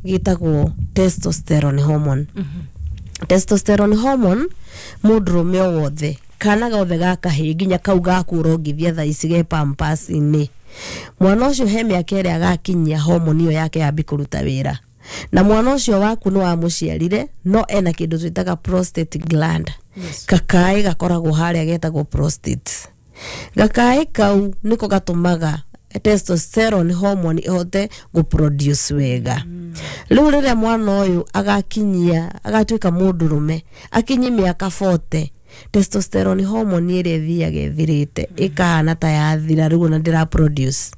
Gĩtagwo testosterone hormone. Testosterone hormone, mũndũrũme o wothe, kana gothe ga kahĩĩ, nginya kau gaku ũrongithia thaa ici ge pampers-inĩ, mwana ũcio he mĩaka ĩrĩa agakinyia hormone ĩyo yake yambi kũruta wĩra. Na mwana ũcio waku nĩ wamũciarire, no ena kĩndũ twĩtaga prostate gland. Kakaĩ gakoragwo harĩa getagwo prostate. Gakaĩ kau nĩko gatũmaga testosterone hormone ĩhote gũproduce wega. Rĩu rĩrĩa mwana ũyũ agakinyia, agatuĩka mũndũrũme, akinyi mĩaka 40, testosterone hormone ĩrĩa ĩthiaga ĩthirĩte, ĩkahana ta yathira rĩu, ona ndĩra produce.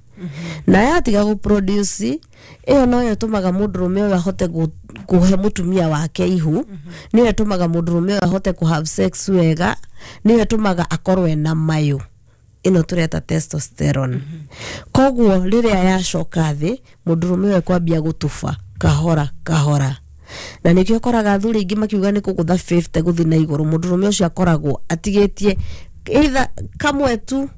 Na yatiga gũproduce, ĩyo noyo ĩtũmaga mũndũrũme ũyũ ahote kũhe mũtumia wake ihu, nĩyo ĩtũmaga mũndũrũme ũyũ ahote kũ have sex wega, nĩyo ĩtũmaga akorwo ena mayũ. Ĩno tũreta testosterone. Koguo rĩrĩa yacoka thĩ, mũndũrũme ũyũ ekwambia gũtuba kahora kahora, na nĩkĩo ũkoraga athuri aingĩ makiuga nĩ kũgũtha 50 gũthiĩ na igũrũ, mũndũrũme ũcio akoragwo atigĩtie either kamwe tu,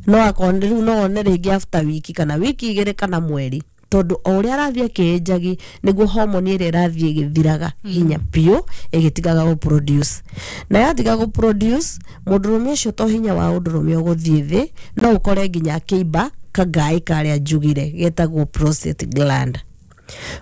no akorwo rĩu no one rĩngĩ after wiki kana wiki 2 kana mweri, tondũ o ũrĩa arathiĩ akĩĩnjagi nĩguo hormone ĩrĩa ĩrathiĩ ĩgĩthiraga hinya biũ, ĩgĩtigaga gũproduce. Na yatiga gũproduce, mũndũrũme ũcio to hinya wa ũndũrũme ũgũthiĩ thĩ, no ũkore nginya akĩimba kangaĩ karĩa njugire getagwo prostate gland.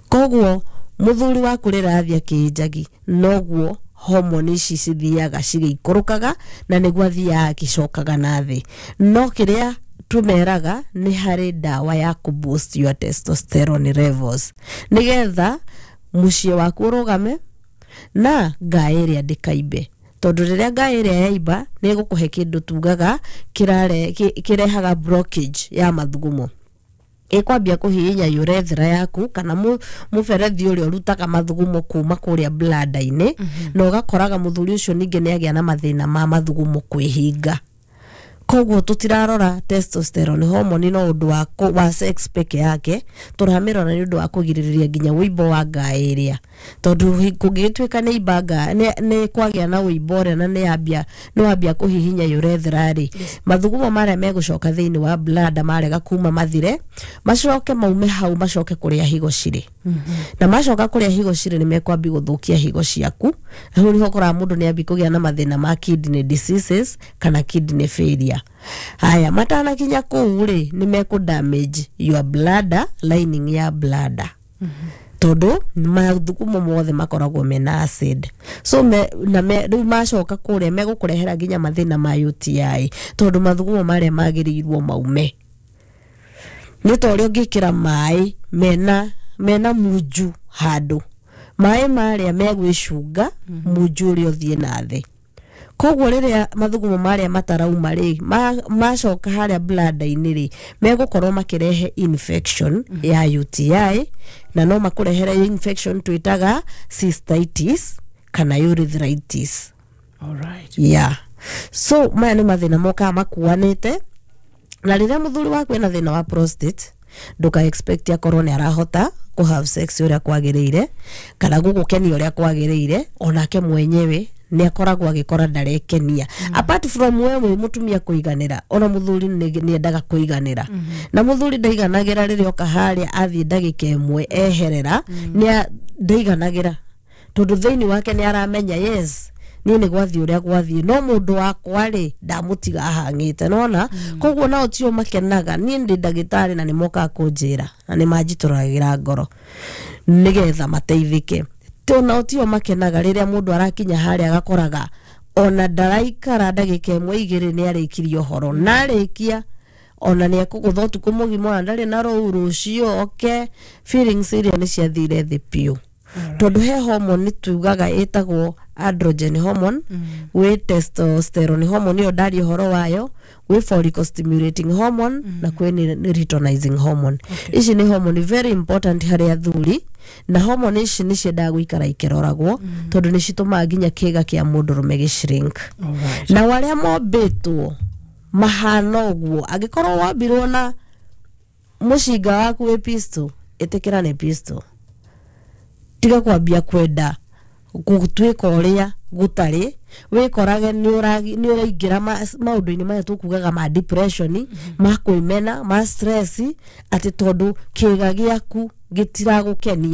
Koguo mũthuri waku rĩrĩa arathiĩ akĩĩnjagi, noguo hormone ici cithiaga cigĩikũrũkaga, na nĩguo athiaga agĩcokaga na thĩ. No kĩrĩa tũmeraga nĩ harĩ ndawa ya kũ boost your testosterone levels, nĩgetha mũciĩ waku ũrũgame na ngaĩ ĩrĩa ndĩkaimbe, tondũ rĩrĩa ngaĩ ĩrĩa yaimba, nĩ ĩgũkũhe kĩndũ tugaga kĩrehaga blockage ya mathugumo, ĩkwambia kũhihinya urethra yaku kana mũberethi ũrĩa ũrutaga mathugumo kuma kũrĩa bladder-inĩ, na ũgakoraga mũthuri ũcio ningĩ nĩ agĩa na mathĩna ma mathugumo kwĩhinga. Koguo tũtirarora testosterone hormone no ũndũ wa sex peke yake, tũramĩrora nĩ ũndũ wa kũgirĩrĩria nginya wũimbo wa ngaĩ ĩrĩa, tondũ kũngĩgĩtuĩka nĩ imba nĩ kwagĩa na wũimbo ũrĩa na nĩ wambia kũhihinya urethra rĩ, mathugumo marĩa megũcoka thĩinĩ wa bladder marega kuma mathire, macoke maume hau, macoke kũrĩa higo cirĩ. Na macoka kũrĩa higo cirĩ, nĩ mekwambi gũthũkia higo ciaku, na hau nĩho ũkoraga mũndũ nĩ ambi kũgĩa na mathĩna ma kidney diseases kana kidney failure. Haya, matanakinya kũu rĩ, nĩ mekũ damage your bladder, lining ya bladder, tondũ mathugumo mothe makoragwo mena acid. So me, na me, rĩu macoka kũrĩa megũkũrehera nginya mathĩna ma UTI, tondũ mathugumo marĩa magĩrĩirwo maume nĩ ta ũrĩa ũngĩkĩra maĩ mena munju handũ, maĩ marĩa megwĩcunga munju ũrĩa ũthiĩ na thĩ. Koguo rĩrĩa mathugumo marĩa matarauma rĩ, macoka harĩa bladder-inĩ rĩ, megũkorwo makĩrehe infection ya UTI, na no makũrehere infection twĩtaga cystitis kana urethritis. Yeah, so maya nĩ mathĩna mokaga makuanĩte. Na rĩrĩa mũthuri waku ena thĩna wa prostate, ndũka expect akorwo nĩ arahota kũ have sex ũrĩa kwagĩrĩire kana gũgũkenia ũrĩa kwagĩrĩire. Onake mwenyewe nĩ akoragwo agĩkora ndarekenia. Apart from we wĩ mũtumia kũiganĩra, ona mũthuri nĩ endaga kũiganĩra, na mũthuri ndaiganagĩra rĩrĩa oka harĩa athiĩ ndagĩka 1 eherera, nĩ ndaiganagĩra, tondũ thĩinĩ wake nĩ aramenya, yes, niĩ nĩ gwathiĩ ũrĩa gwathiĩ, no mũndũ wakwa rĩ, ndamũtiga ahang'ĩte nona. Koguo nao tio makenaga. Niĩ ndĩ ndagĩtarĩ, na nĩ mokaga kũnjĩra na nĩ manjitũragĩra ngoro nĩgetha mateithĩke. Nao tio makenaga rĩrĩa mũndũ arakinya harĩa agakoraga ona ndaraikara ndagĩka 1 2 nĩ arĩkirie ũhoro, na arĩkia ona nĩ ekũgũtha ũtukũ mũgima, ona ndarĩ na rũu rũciũ oke, feelings iria nĩ ciathire thĩ biũ, tondũ he hormone tugaga ĩtagwo androgen hormone, gwĩ testosterone hormone ĩyo ndaria ũhoro wayo, gwĩ follicle stimulating hormone, na kwĩ nĩ luteinizing hormone. Ici nĩ hormone very important harĩ athuri, na hormone ici nĩ ciendaga gũikara ikĩroragwo, tondũ nĩ citũmaga nginya kĩga kĩa mũndũrũme gĩ shrink. Na arĩa mombĩtwo mahana ũguo, angĩkorwo wambirwo na mũcinga waku wĩ pistol, ĩtĩkĩra nĩ pistol, tiga kwambia kwenda. Gũtuĩka ũrĩa gũtarĩ, wĩkorage nĩ ũraingĩra maũndũ-inĩ maya tũkugaga ma depression, ma kwĩmena, ma stress, atĩ tondũ kĩga gĩaku gĩtiragũkenia.